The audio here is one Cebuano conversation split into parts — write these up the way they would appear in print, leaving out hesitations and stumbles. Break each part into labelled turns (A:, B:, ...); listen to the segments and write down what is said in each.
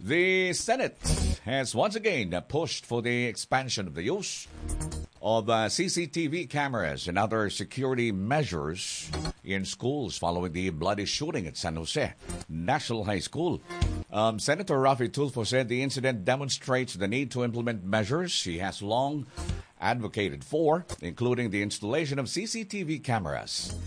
A: The Senate has once again pushed for the expansion of the use of CCTV cameras and other security measures in schools following the bloody shooting at San Jose National High School. Senator Raffy Tulfo said the incident demonstrates the need to implement measures he has long advocated for, including the installation of CCTV cameras.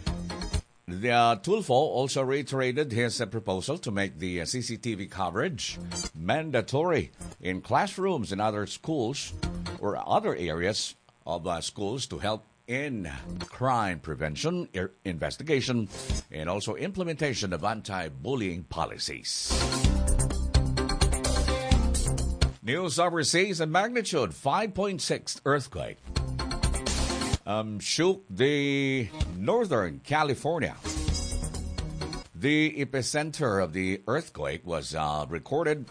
A: The Tulfo also reiterated his proposal to make the CCTV coverage mandatory in classrooms and other schools or other areas of schools to help in crime prevention, investigation, and also implementation of anti-bullying policies. News overseas: a magnitude 5.6 earthquake shook the northern California. The epicenter of the earthquake was recorded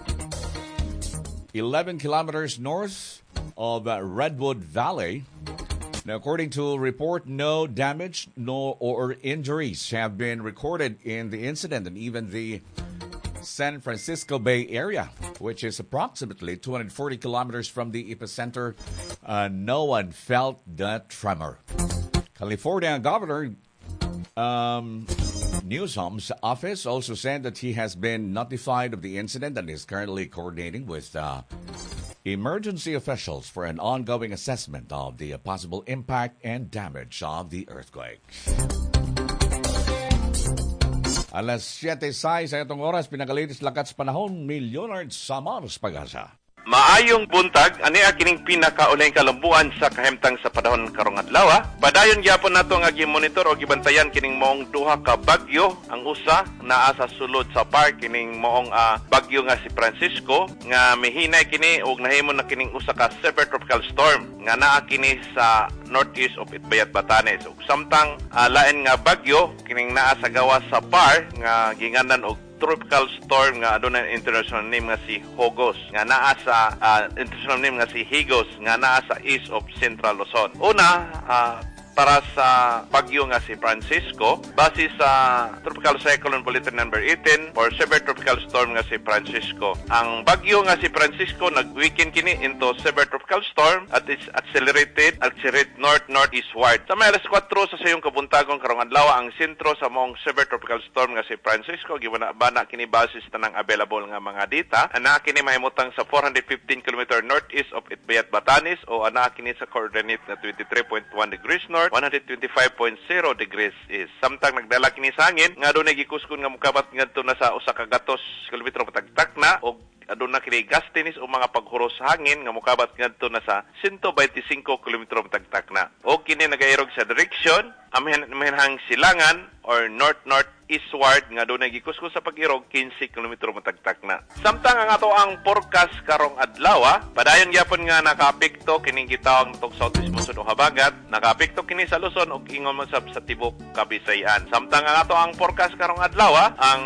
A: 11 kilometers north of Redwood Valley. Now, according to a report, no damage no or injuries have been recorded in the incident, and even the San Francisco Bay Area, which is approximately 240 kilometers from the epicenter, no one felt the tremor. California Governor Newsom's office also said that he has been notified of the incident and is currently coordinating with emergency officials for an ongoing assessment of the possible impact and damage of the earthquake. Alas 7:06 sa itong oras, pinaka-latest lakat sa panahon, Leonard Samar Pag-asa.
B: Maayong buntag, ani kining pinakaulahing kalambuan sa kahimtang sa panahon karong adlaw. Padayon gyapon nato nga gimonitor o gibantayan kining maong duha ka bagyo. Ang usa naa sa sulod sa park, kining maong bagyo nga si Francisco nga mihinay kini og nahimo na kining usa ka severe tropical storm nga naa kini sa northeast of Itbayat, Batanes. Ug samtang lain nga bagyo kining naa sa gawas sa par nga ginganan og tropical storm nga adunay international name nga si Hogos nga naa sa international name nga si Higos nga naa sa east of Central Luzon. Una, para sa bagyo nga si Francisco, base sa Tropical Cyclone Bulletin number 18 for severe tropical storm nga si Francisco. Ang bagyo nga si Francisco nag-weaken kini into severe tropical storm at is accelerate north-northeastward. Sa may alas 4 sa sayong kabuntagon karong adlaw, ang sentro sa maong severe tropical storm nga si Francisco gibana kini base sa tanang available nga mga data. Ana kini mahimutang sa 415 km northeast of Itbayat, Batanes o ana kini sa coordinate na 23.1 degrees north, 125.0 degrees east. Samtang nagdala kini sa hangin nga adunay gikuskon nga mokabat ngadto na sa 100 kilometro patagtak na og aduna kini gastinis o mga paghuros sa hangin nga mokabat ngadto na sa 125 kilometro patagtak na. Og kini nagairog sa direction amihanang silangan or north-northeastward nga adunay gikuskon sa pag-irog 15 kilometro matagtak na. Samtang ang ato ang forecast karong adlaw, padayon gyapon nga nakaapekto kining gitawag tong southeast monsoon o habagat, nakaapekto kini sa Luzon ug ingon man sab sa tibuok Kabisayan. Samtang ang ato ang forecast karong adlaw, ang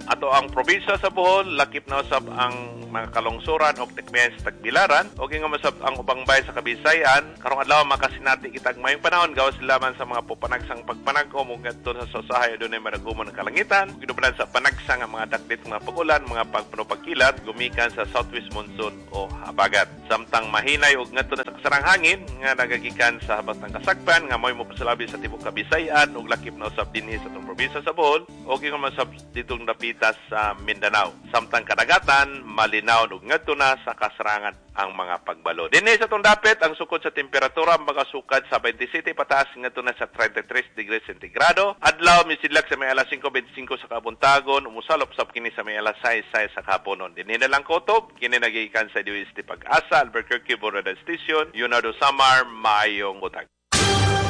B: ato ang probinsya sa Bohol, lakip na usab ang mga kalungsuran og tikmihan sa Tagbilaran, og ingon man sab ang ubang bayan sa Kabisayan. Karong adlaw makasinati kitag mayong panahon gawas laman sa mga pupanagsang pagpanag-om ug ngadto sa Sosahay adunay managumon ang kalangitan, gidupanan sa panagsang ang mga dakdit mga pag-ulan, mga pagpanupagkilat gumikan sa southwest monsoon o habagat. Samtang mahinay og ngadto na sa kasarang hangin nga nagagikan sa habatang kasagpan nga moy mopasalabi sa tibuok Kabisayan ug lakip na usab dinhi sa atong probinsya sa Bohol ug ingon man sab ditong dapita sa Mindanao. Samtang kadagatan malinaw ug ngadto na sa kasarangan ang mga pagbalo. Dinhi sa atong dapit ang sukod sa temperatura magasukad sa 27 pataas ngadto na sa 33 degrees sentigrado. Adlaw misidlak sa may alas 5:25 sa kabuntagon, umusalop sab kini sa may alas 6:06 sa kahaponon. Dinhi na lang kotob kini nagikan sa DOST Pag-asa, Albuquerque Border Station, Leonardo Samar, maayong buntag.